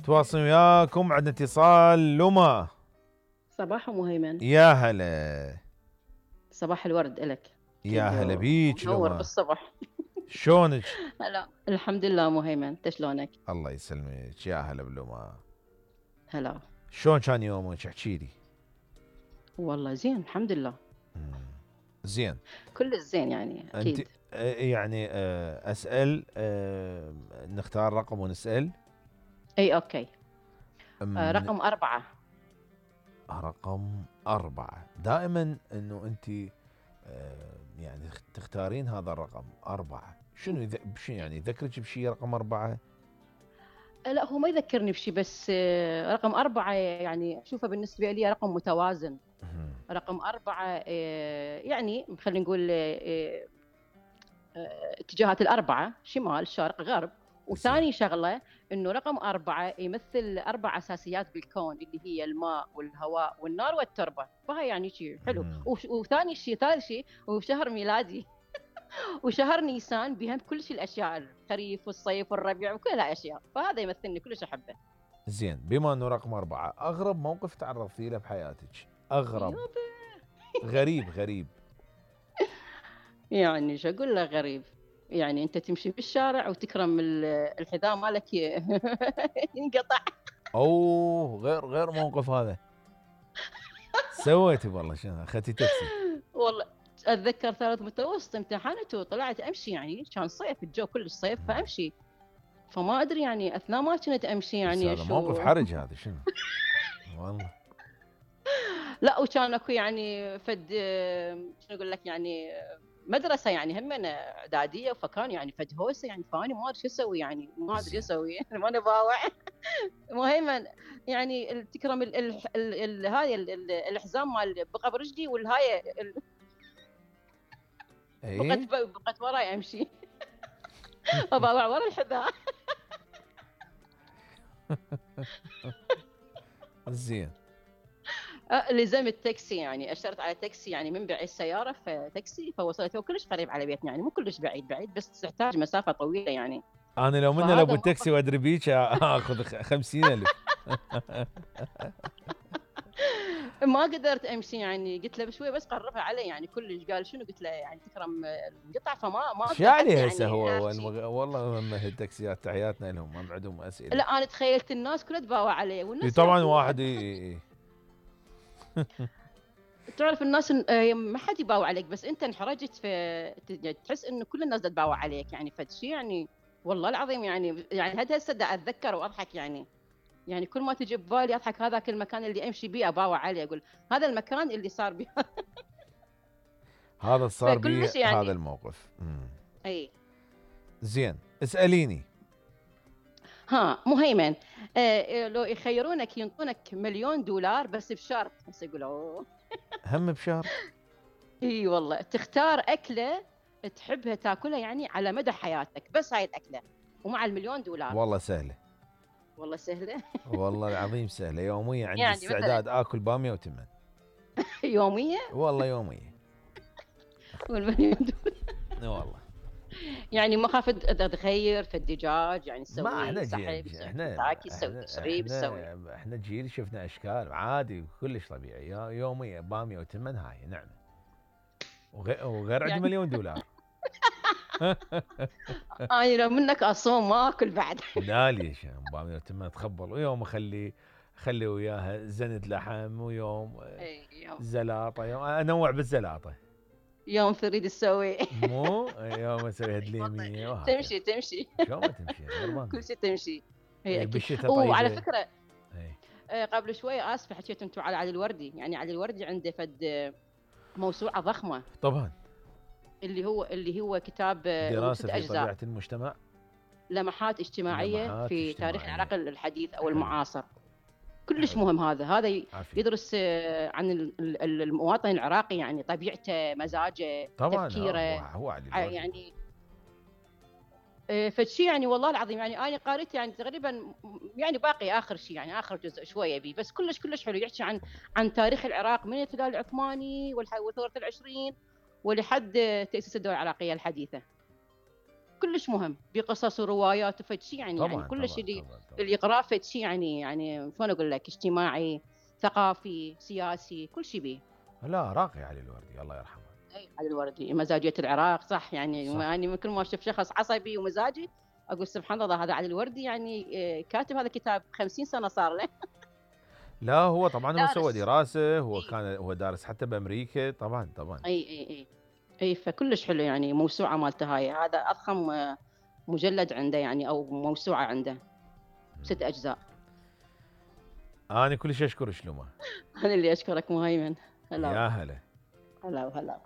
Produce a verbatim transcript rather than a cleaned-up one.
تواصل وياكم. عندنا اتصال. لما صباح مهيمن. يا هلا. صباح الورد إلك. يا هلا بيك منور لما. بالصبح. شلونك؟ هلا الحمد لله مهيمن، انت شلونك؟ الله يسلمك. يا هلا بلما. هلا. شلون كان يومك؟ احكي لي. والله زين الحمد لله. زين. كل الزين يعني اكيد. انت يعني اسال نختار رقم ونسال. اي اوكي. آه رقم أربعة. رقم أربعة. دائما انه انت يعني تختارين هذا الرقم أربعة. شنو يذ... شنو يعني يذكرك بشيء رقم أربعة؟ لا هو ما يذكرني بشيء، بس رقم أربعة يعني أشوفه بالنسبة لي رقم متوازن. رقم أربعة يعني خلينا نقول اتجاهات الأربعة، شمال شرق غرب. وثاني شغلة إنه رقم أربعة يمثل أربع أساسيات بالكون اللي هي الماء والهواء والنار والتربة، فهي يعني شيء حلو. وثاني شيء ثالث شيء وشهر ميلادي وشهر نيسان بهم كل شيء الأشياء، الخريف والصيف والربيع وكل الأشياء، فهذا يمثلني كلش أحبه. زين، بما إنه رقم أربعة، أغرب موقف تعرضتي له بحياتك؟ أغرب غريب غريب يعني شو أقول لك غريب؟ يعني أنت تمشي بالشارع وتكرم الحذاء مالك ينقطع. أوه غير غير موقف هذا. سويتي والله شنو؟ أخذتي تاكسي؟ والله أتذكر ثالث متوسط امتحنت وطلعت أمشي، يعني كان صيف الجو كلش صيف فأمشي، فما أدري يعني أثناء ما كنت أمشي يعني هذا موقف حرج هذا شنو؟ والله لا وكان اكو يعني فد شنو اقول لك يعني مدرسه يعني هم اعداديه، فكان يعني فد هوسه يعني، فاني ما ادري شو اسوي يعني، ما ادري شو اسوي ما انا باوع. المهم يعني تكرم هاي الحزام مال بقى برجلي والهاي بقت بقت وراي امشي وباوع ورا الحذاء. زين. لزمت تاكسي، يعني اشترت على تاكسي يعني من بعيد السياره فتاكسي، فوصلته كلش قريب على بيتنا، يعني مو كلش بعيد بعيد بس تحتاج مسافه طويله يعني. انا لو منه لو بالتاكسي وادري بيك اخذ خمسين ألف. ما قدرت امشي يعني، قلت له بشوي بس قربها علي يعني كلش، قال شنو؟ قلت له يعني تكرم القطع، فما ما اقدر حتى يعني هسه هو المغ... والله هم التاكسيات تحياتنا لهم ما عندهم اسئله. لا انا تخيلت الناس كلها تباوع علي والناس طبعا واحد اي تعرف الناس ما حد يباوع عليك، بس انت انحرجت في تحس انه كل الناس تباوع عليك يعني، فد شيء يعني والله العظيم يعني يعني هذا هسه اتذكر واضحك يعني يعني كل ما تجي ببالي اضحك. هذاك المكان اللي امشي بيه اباوع عليه، اقول هذا المكان اللي صار بيه هذا صار بيه يعني هذا الموقف. مم. اي زين اساليني. ها مهيمن، آه لو يخيرونك ينطونك مليون دولار بس بشرط، بس يقولوا هم بشرط؟ اي والله تختار اكله تحبها تاكلها يعني على مدى حياتك، بس هاي الاكله ومع المليون دولار. والله سهله. والله سهله. والله العظيم سهله. يوميا عندي يعني استعداد اكل باميه وتمن. يوميه؟ والله يوميه. والمليون دولار والله يعني ما خاف تغير في الدجاج يعني تسوي ما احنا جيل احنا تاكي تسوي تشريب تسوي. احنا جيل شفنا اشكال عادي كلش طبيعي. يوميا باميه وتمن هاي نعم، وغير عندي يعني مليون دولار. انا لو منك اصوم ما اكل بعد. لا ليش باميه وتمن تخبل، ويوم اخلي اخلي وياها زند لحم، ويوم زلاطه، يوم انوع بالزلاطه، يوم تريد تسوي مو يوم اسوي هدليميه تمشي تمشي شلون ما تمشي كل شيء تمشي هي بالشتاء. طيب وعلى فكره هي. قبل شوي اسف حكيت انتم على علي الوردي، يعني علي الوردي عنده فد موسوعه ضخمه طبعا اللي هو اللي هو كتاب دراسه في طبيعه المجتمع، لمحات اجتماعيه لمحات في اجتماعية. تاريخ العراق الحديث او المعاصر. كلش حلو. مهم هذا هذا عافية. يدرس عن المواطن العراقي يعني طبيعته مزاجه طبعا تفكيره هو علي يعني فشي يعني والله العظيم يعني انا قريت يعني تقريبا يعني باقي اخر شيء يعني اخر جزء شويه بيه، بس كلش كلش حلو. يحكي عن عن تاريخ العراق من الاحتلال العثماني والثوره العشرين ولحد تاسيس الدوله العراقيه الحديثه. كلش مهم بقصص وروايات وفد شيء يعني يعني طبعا كلش طبعا اللي طبعا, طبعا. اللي يقراه فد شيء يعني يعني شلون اقول لك اجتماعي ثقافي سياسي كل شيء بيه. لا راقي علي الوردي الله يرحمه. اي علي الوردي مزاجيه العراق صح يعني صح. يعني من كل ما اشوف شخص عصبي ومزاجي اقول سبحان الله هذا علي الوردي يعني آه، كاتب هذا الكتاب خمسين سنه صار له. لا هو طبعا هو سوى دارس. دراسه، هو اي كان هو دارس حتى بامريكا طبعا طبعا. اي اي اي, أي فكلش حلو يعني موسوعه مالته هاي هذا اضخم آه، مجلد عنده يعني او موسوعه عنده ست اجزاء. انا كل شيء اشكر شلومه. انا اللي اشكرك مهيمن. هلا يا هلا. هلا وهلا.